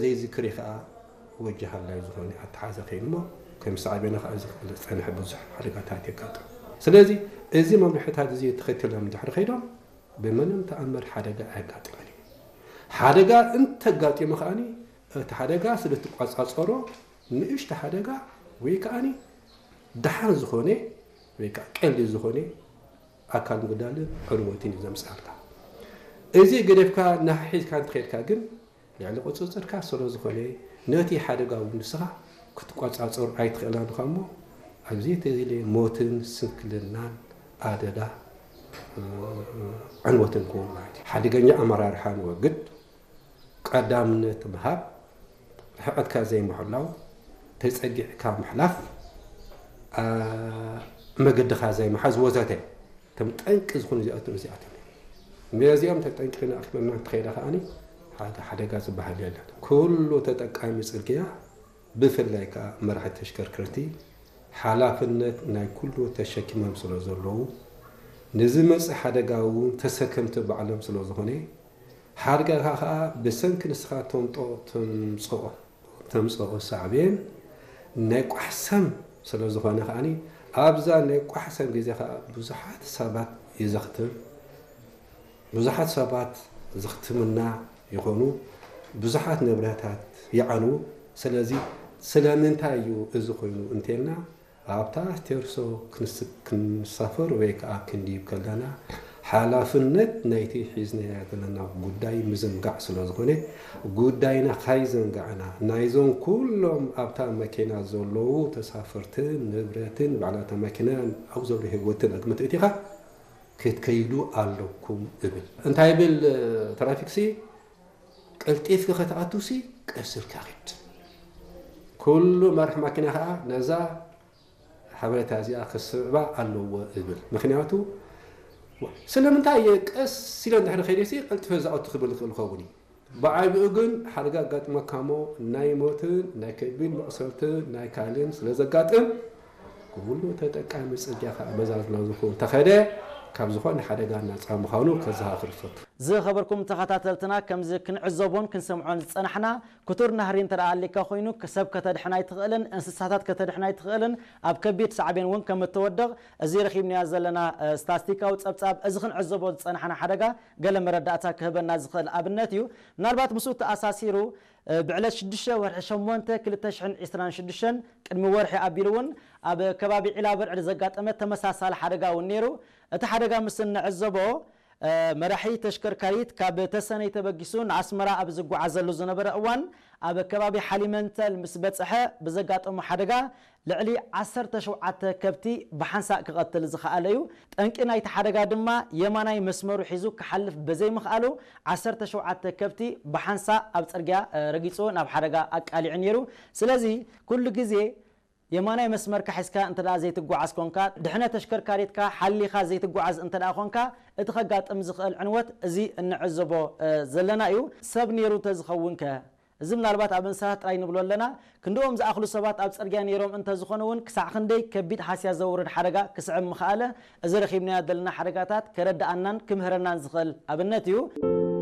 ዘይዝክር ከዓ ወጀሃላይ ዝኾነ ኣተሓዘ ከይኑ እሞ ከም ሳዕቤኑ ከዓ እዚ ክፍለ ዝፀንሐ ብዙሕ ሓደጋታት የጋጥም። ስለዚ እዚ መምርሕታት እዚ ተኸቲሎም እንድሕር ከይዶም ብምንም ተኣምር ሓደጋ ኣየጋጥምን እዩ። ሓደጋ እንተጋጢሙ ከዓኒ እቲ ሓደጋ ስለ ትቋፃፀሮ ንእሽተ ሓደጋ ወይ ከዓኒ ደሓን ዝኾነ ወይ ከዓ ቀሊል ዝኾነ ኣካል ምጉዳልን ዕንወትን እዩ ዘምፅኣልካ። እዚ ገደፍካ ናሒዝካ እንትኸድካ ግን ልዕሊ ቁፅፅርካ ስለ ዝኾነ ነቲ ሓደጋ እውን ንስኻ ክትቆፃፀሩ ኣይትኽእላን ኢኻ እሞ ኣብዚ ተዝለ ሞትን ስንክልናን ኣደዳ ዕንወትን ክውን ማለት እዩ። ሓደገኛ ኣመራርሓ ንወግድ፣ ቀዳምነት ምሃብ፣ ርሕቐትካ ዘይምሕላው፣ ተፀጊዕካ ምሕላፍ፣ መገድኻ ዘይምሓዝ ወዘተ እቶም ጠንቂ ዝኾኑ እዚኣቶም እዚኣቶም እዮም። ነዚኦም ተጠንቂቕና ኣኽቢርና እንተኸይዳ ከዓኒ ሓደ ሓደጋ ዝበሃል የለን። ኩሉ ተጠቃሚ ፅርግያ ብፍላይ ከዓ መራሕቲ ተሽከርከርቲ ሓላፍነት ናይ ኩሉ ተሸኪሞም ስለ ዘለዉ ንዝመፅእ ሓደጋ እውን ተሰከምቲ ባዕሎም ስለ ዝኾነ ሓደጋ ከዓ ብሰንኪ ንስኻ ተምፅኦ ተምፅኦ ሳዕቤን ናይ ቋሕሰም ስለ ዝኾነ ከዓኒ ኣብዛ ናይ ቋሕሰም ግዜ ከዓ ብዙሓት ሰባት ይዘኽትም ብዙሓት ሰባት ዘኽትምና ይኾኑ፣ ብዙሓት ንብረታት ይዓንዉ። ስለዚ ስለምንታይ እዩ እዚ ኮይኑ እንተልና ኣብታ ቴርሶ ክንሳፈር ወይ ከዓ ክንድይብ ከለና ሓላፍነት ናይቲ ሒዝናያ ዘለና ጉዳይ ምዝንጋዕ ስለ ዝኾነ ጉዳይና ካይዘንጋዕና ናይዞም ኩሎም ኣብታ መኪና ዘለዉ ተሳፈርትን ንብረትን ባዕላታ መኪና ኣብኡ ዘሎ ህይወትን ኣግምት እቲኻ ክትከይዱ ኣለኩም እብል። እንታይ ይብል ትራፊክሲ? ቀልጢፍኪ ከተኣቱሲ ቀስ ኢልካ ኺድ። ኩሉ መራሕ ማኪና ኸዓ ነዛ ሓበሬታ እዚኣ ክስዕባ ኣለዎ እብል። ምኽንያቱ ስለምንታይ እየ ቀስ ኢለ እንድሕሪ ከይደሲ ቀልጢፈ ዝኣቱ ክብል ይኽእል ይኸውን እዩ። ብዓቢኡ ግን ሓደጋ ኣጋጥመካ እሞ ናይ ሞትን ናይ ከቢድ መቕሰልትን ናይ ካልእን ስለ ዘጋጥም ኩሉ ተጠቃሚ ጽርግያ ከዓ በዛ ዝናዝኹ እንተኸደ ካብ ዝኾነ ሓደጋ ናፃ ምዃኑ ከዘኻኽር ይፈቱ። ዝኸበርኩም ተኸታተልትና ከምዚ ክንዕዘቦን ክንሰምዖን ዝጸናሕና ክቱር ናህሪ እንተ ደኣ ኣሊካ ኮይኑ ሰብ ከተድሕን ኣይትኽእልን፣ እንስሳታት ከተድሕን ኣይትኽእልን፣ ኣብ ከቢድ ሳዕቤን እውን ከም እትወድቕ እዚ ረኺብናዮ ዘለና ስታስቲካዊ ጸብጻብ እዚ ክንዕዘቦ ዝጸናሕና ሓደጋ ገለ መረዳእታ ክህበና ዝኽእል ኣብነት እዩ። ምናልባት ምስኡ ተኣሳሲሩ ብዕለት ሽዱሽተ ወርሒ ሸሞንተ ክልተ ሽሕን ዕስራን ሽዱሽተን ቅድሚ ወርሒ ኣቢሉ እውን ኣብ ከባቢ ዒላበርዕድ ዘጋጠመ ተመሳሳሊ ሓደጋ እውን ነይሩ። እቲ ሓደጋ ምስ እንዕዘቦ መራሒ ተሽከርካሪት ካብ ተሰነይ ተበጊሱ ንኣስመራ ኣብ ዝጓዓዘሉ ዝነበረ እዋን ኣብ ከባቢ ሓሊመንተል ምስ በፅሐ ብዘጋጠሞ ሓደጋ ልዕሊ ዓሰርተ ሸውዓተ ከብቲ ብሓንሳእ ክቐትል ዝኸኣለ እዩ። ጠንቂ ናይቲ ሓደጋ ድማ የማናይ መስመሩ ሒዙ ክሓልፍ በዘይምኽኣሉ ዓሰርተ ሸውዓተ ከብቲ ብሓንሳእ ኣብ ፅርግያ ረጊፁ ናብ ሓደጋ ኣቃሊዑ ነይሩ። ስለዚ ኩሉ ግዜ የማናይ መስመርካ ሒዝካ እንተ ዘይትጓዓዝ ኮንካ፣ ድሕነ ተሽከርካሪትካ ሓሊኻ ዘይትጓዓዝ እንተ ኮንካ፣ እቲ ከጋጥም ዝኽእል ዕንወት እዚ እንዕዘቦ ዘለና እዩ። ሰብ ነይሩ እንተዝኸውን ከ? እዚ ምናልባት ኣብ እንስሳት ጥራይ ንብሎ ኣለና። ክንድኦም ዝኣኽሉ ሰባት ኣብ ጽርግያ ነይሮም እንተዝኾኑ እውን ክሳዕ ክንደይ ከቢድ ሃስያ ዘውርድ ሓደጋ ክስዕብ ምኽኣለ፣ እዚ ረኺብናዮ ዘለና ሓደጋታት ከረድኣናን ክምህረናን ዝኽእል ኣብነት እዩ።